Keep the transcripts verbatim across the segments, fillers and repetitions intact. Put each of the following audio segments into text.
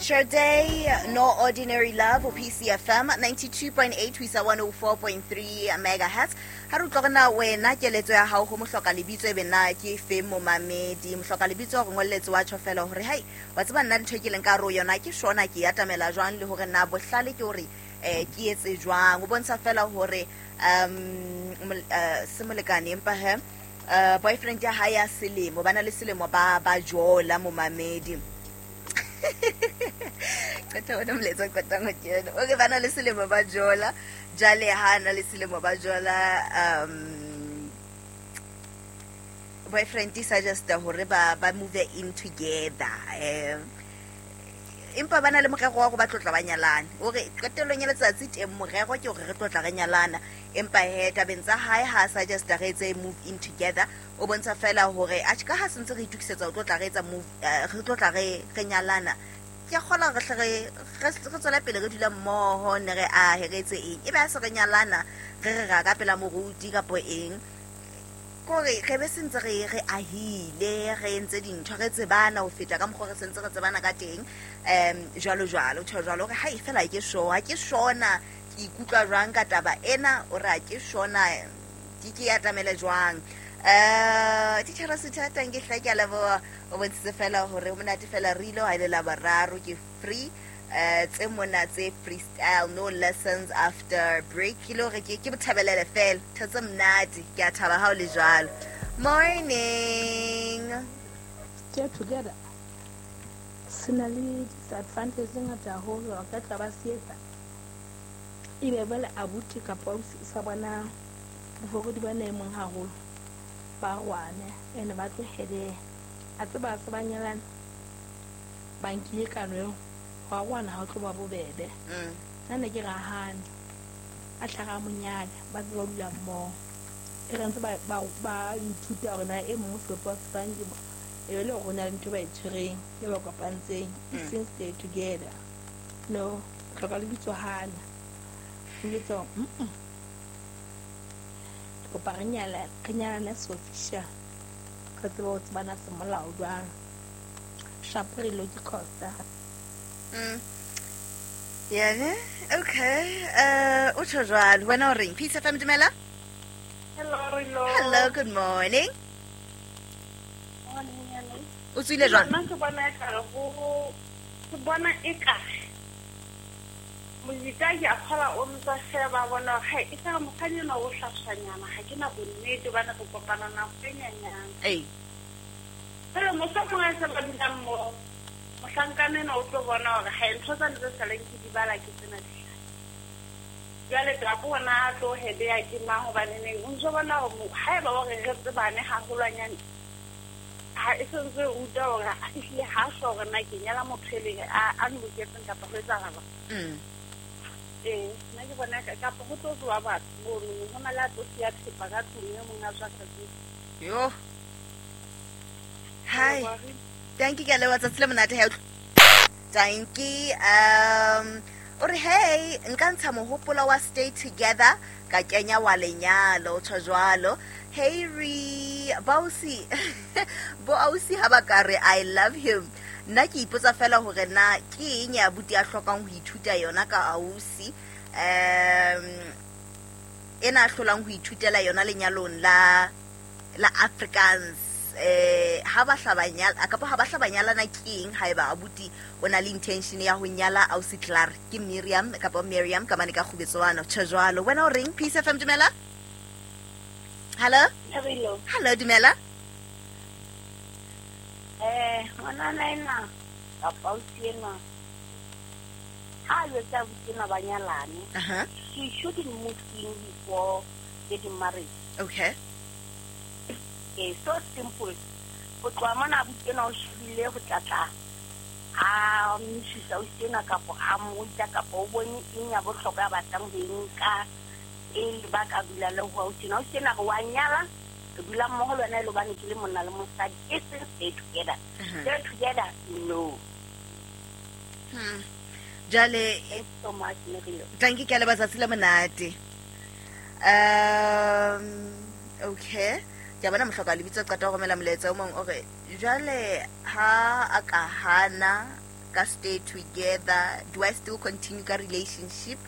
Sade, No Ordinary Love, o P C F M ninety-two point eight ho isa one oh four point three megahertz. Ha re utlwa na wena keletso ya hao ho mohloka lebitso e be na ke fe momamedi. Mohloka lebitso re ngolletse wa tjho fela hore hai wa tseba nna ntho e ke leng ka hare ho yona ke shona ke atamela jwang le hore na bohlale ke hore eh ke etse jwang. O bontsha fela hore um mol- eh, se molekane empa he uh, boyfriend ya hae ya selemo ba na le selemo ba ba jola momamedi. Qeta ona molaetsa o qetang ho kena okay ba na le selemo ba jola jwale ha na le selemo ba jola um boyfriend e suggesta hore ba ba move in together um empa ba na le morero wa hore ba tlotla ba nyalane ore qetellong ya letsatsi teng morero ke hore re tlotla re nyalana empa he tabeng tsa hae ha a suggesta re etse move in together o bontsha fela hore atjhe ka ha sentse re itukisetsa ho tlotla re etsa move eh, re tlotla re re nyalana ke a kgola re hle re re re tswela pele re dula mmoho ne re ahe re etse eng ebe ha se re nyalana re re ra ka pela moruti kapo eng kore re be sentse re re ahile re entse dintho re tsebana ho feta ka mokgwa re sentse re tsebana ka teng um jwalo jwalo tjho jwalo hore hai fela ha ke sure ha ke shona ke ikutlwa jwang ka taba ena o re ha ke shona ke ke atamele jwang um titjhere sethatang ke hla ke a leboha o bontshitse fela hore ho monate fela re ile ha ile la boraro ke free eh tse mona tse freestyle, no lessons after break ke le hore ke ke bothabelele fela ntho tse monate ke a thaba ha o le jwalo. Morning. Stay together se na le disadvantage tse ngata haholo ba ka tla ba se etsa ebe jwale abuti kapa ausi o sa bona bofokodi ba na e mong haholo ba rwane ene ba tlohele a tseba se ba nyalane ba nkile kano eo ho arohana ha o tlo ba bobebe. mm. Nna ne ke rahane a tlhaga monyane ba ntse ba dula mmoho e re ntse ba ba ba ithuta hore na e mong sebopeho se fang ke e be le hore ho na le ntho e ba e tshwereng e ba kopantseng e Mm. seng stay together no hloka lebitso hana lebitso mm ke kopa re nyala re nyalane se official re tsebe ho tsebana semolao jwang sharp re lo ke costa. Mm. Yeah, ne? Okay. Uh, o tjho jwalo. Wena o reng? Peace F M, dumela? Hello, Rilo. Hello, good morning. Morning, hello. O tswile jwang? Nna ke bona ekare ho ke bona ekare mojita ke a kgola o ntsa sheba bona hore hai e ka mokganni enwa o hlaswanyana ha ke na bonnete hobane re kopana nako e nyenyane. Ei. Jwale mohlomong ha se ba dula mmoho mohlankana enwa o tlo bona hore hai ntho tsane tse saleng ke di bala ke tsena di hlaha. Jwale tla bona a tlo hebeya ke mang hobaneneng o ntso bona hore mo- haeba o re re tsebane haholwanyane ha e sentse e ruta hore ehlile ha sure hore na ke nyala motho e leng a a nloketseng kapa ho etsahala. Mm. Ee, nna ke bona ka kapa ho tlo tsoa batho mono ho na le a tlo siya thepa ka tlung e mong a tswa ka tlung. Yo. Hi. Thank you, ke a leboha tsatsi le monate ha. Thank you. Um o re hey nka ntsha mohopolo wa stay together ka kenya wa lenyalo tjho jwalo. Hey re bausi bo ausi ha ba ka re I love him nna ke ipotsa fela hore na ke eng ya abuti a hlokang ho ithuta yona ka ausi um ena a hlolang ho ithutela yona lenyalong la la Afrikaans eh ha ba hla ba nyala kapa ha ba hla ba nyalana ke eng haeba abuti o na le intention ya ho nyala ausi Clark ke Miriam kapa Miriam ka mane ka kgubetswana tjho jwalo. Wena o reng? Peace F M, dumela. Hello. Hello. Hello, dumela. Eh, ngwanana ena kapa ausi enwa ha a jwetsa abuti enwa ba nyalane aha she shouldn't move in before getting married. Okay eh so simple ho tloha mona abuti enwa o shebile ho tlatla a mmisisa ausi enwa kapo a mmoitsa kapo o bone eng ya bohlokwa ya batlang ho e nka pele ba ka dula le ho ausi enwa. Ausi enwa re wa nyala re dula mmoho le wena e le hobane ke le monna le mosadi e seng stay together. Mhm. Stay together, no. hmm jwale Thanks so much, Merilo. Thank you, ke a leboha tsatsi le monate. um okay ke a bona mohloka lebitso qeta ho romela molaetsa o mong o re jwale ha a ka hana ka stay together? Do I still continue ka relationship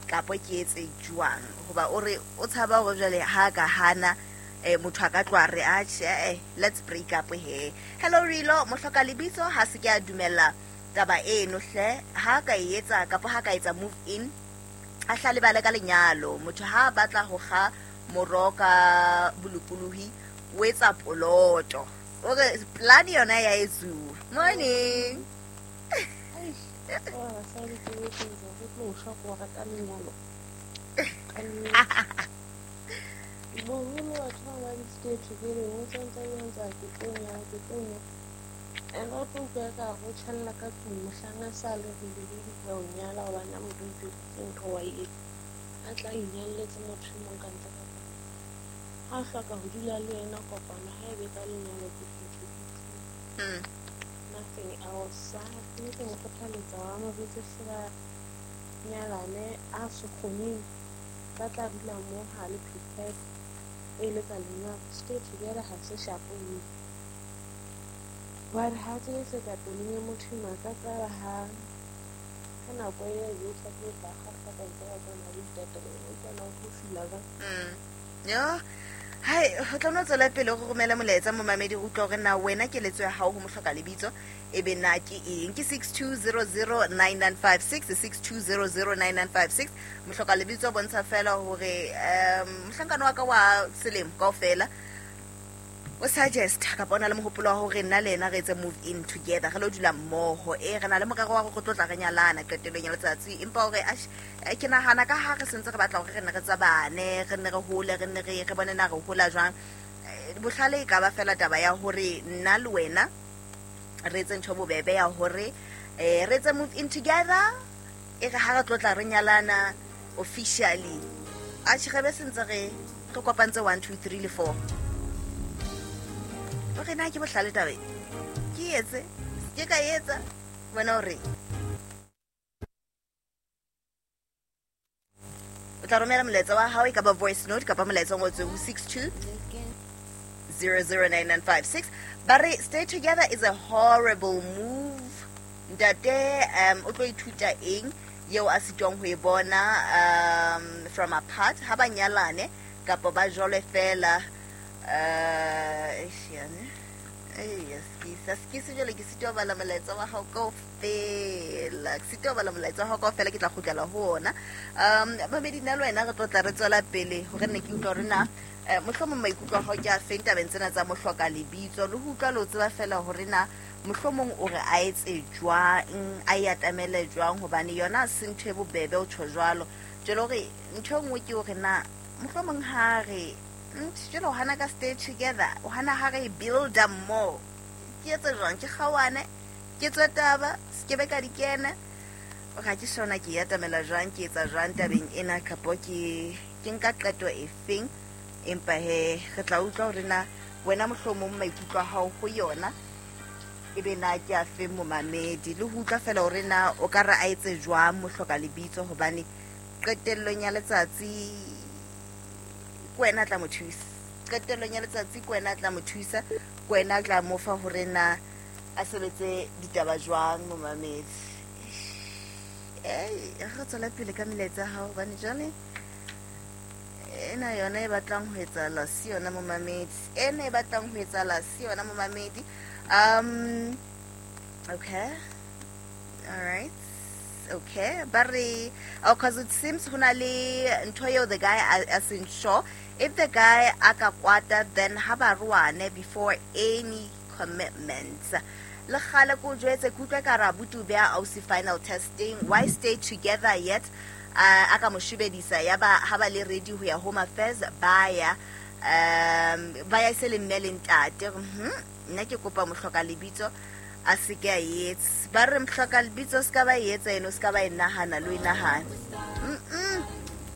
kapa ke etse jwang? Hoba o re o tshaba hore jwale ha ka hana eh motho a ka tloha re atjhe eh let's break up he. Hello Rilo, mohloka lebitso ha se ke a dumella taba eno hle, ha ka e etsa kapa ha ka etsa move in a hla lebale ka lenyalo. Motho ha batla ho kga moro ka bolokolohi o etsa poloto. O re plan yona ya etsuwa. Morning. Oh, basadi ke etsa go tlo shwa go rata lenyalo. Boholo batho ba ba di-stay together o tsantsa o ntse a ke tlo nyala ke tlo nyala and o tlo utlwa ka go tšhelela ka tlung mohlang a sa le rile go o nyala gobane a motho o ipeditse ntho wa e etsa a tla inyalletse motho e mong ka ntle ka kopano. Ha o hloka ho dula le yena kopano ha e be ka lenyalo ke phetho ke two. Nothing else. Ke ke mo kgothaletsa wa mo botse hle ba nyalane a se kgoneng ba tla dula mo ha le prepared e le ka lenyalo. Stay together ha se shapo mme wa re ha tse ka pelong ya motho ena ka tsaba ha ka nako e e tla tlo tla kgahla ka ntse ba tsona le ditatelo o utlwana o tlo fila jwang. Yo hai ho tla no tswela pele go romela molaetsa momamedi go utlwa hore na wena keletso ya hao ho mohloka lebitso e be na ke eng. Ke six two zero zero nine nine five six six two zero zero nine nine five six. Mohloka lebitso bontsha fela hore um mohlankana wa ka wa selemo kaofela o suggest kapa o na le mohopolo wa hore nna le yena re etse move in together, re lo dula mmoho, e re na le morero wa hore re tlo tla re nyalana qetellong ya letsatsi. Empa hore ke nahana ka ha re sentse re batla hore re nne re tsabane, re nne re hole, re nne re re bone na re hola jwang, bohlale e ka ba fela taba ya hore nna le wena re etse ntho bobebe ya hore eh re etse move in together, e re ha re tlo tla re nyalana officially a tjhe be sentse re re kopantse one two three le four. O re na ke bohlale taba e ke etse ke ka etsa wena o re o tla romela molaetsa wa hao e ka ba voice note kapa molaetsa o ngotsweng ho six two zero zero nine nine five six. Ba re stay together is a horrible move. Ntate um o tlo ithuta eng eo a sitwang ho e bona um from apart ha ba nyalane kapa ba jole fela. Uh, ke jwale ke sitwa bala molaetsa wa hao kaofela, ke sitwa bala molaetsa wa hao kaofela, ke tla kgutlela ho ona. Um mamedi nna le wena re tlo tla re tswela pele hore nne ke utlwa hore na mohlomong maikutlo a hao ke a feng tabeng tsena tsa mohloka lebitso, le ho utlwa le ho tseba fela hore na mohlomong o re a etse jwang, a e atamele jwang, hobane yona se ntho e bobebe o tjho jwalo. Jwale hore ntho e nngwe ke hore na mohlomong ha re jwale o hana ka stay together, o hana ha re build-a more, ke etse jwang, ke kgaohane, ke tswe taba, se ke be ka di kena, o ga ke sona ke e atamela jwang, ke etsa jwang tabeng ena, kapo ke ke nka qeto efeng. Empa he re tla utlwa hore na wena mohlomong maikutlo a hao ho yona e be na ke a feng momamedi, le ho utlwa fela hore na o ka re a etse jwang mohloka lebitso, hobane qetellong ya letsatsi kwena tla mo thusa, qetellong ya letsatsi kwena tla mo thusa, kwena tla mo fa hore na a sebetse ditaba jwang momamedi. Eh re tswela pele ka melaetsa ya hao hobane jwale ena yona e batlang ho etsahala si yona momamedi, ena e batlang ho etsahala si yona momamedi. Um okay, all right, okay, but oh, cause it seems hona le ntho eo the guy a seng sure if the guy a ka kwata then ha ba ruane before any commitments. Le kgale ko jwetse ke utlwa ka ra abuti o beha ausi final testing, why stay together yet? Uh, a ka mo shebedisa ya ba ha ba le ready ho ya home affairs ba ya um ba ya se le mme le ntate. Mhm nna ke kopa mohloka lebitso a se ke a etse, ba re mohloka lebitso se ka ba etsa eno, se ka ba e nahana le o e nahana. Mm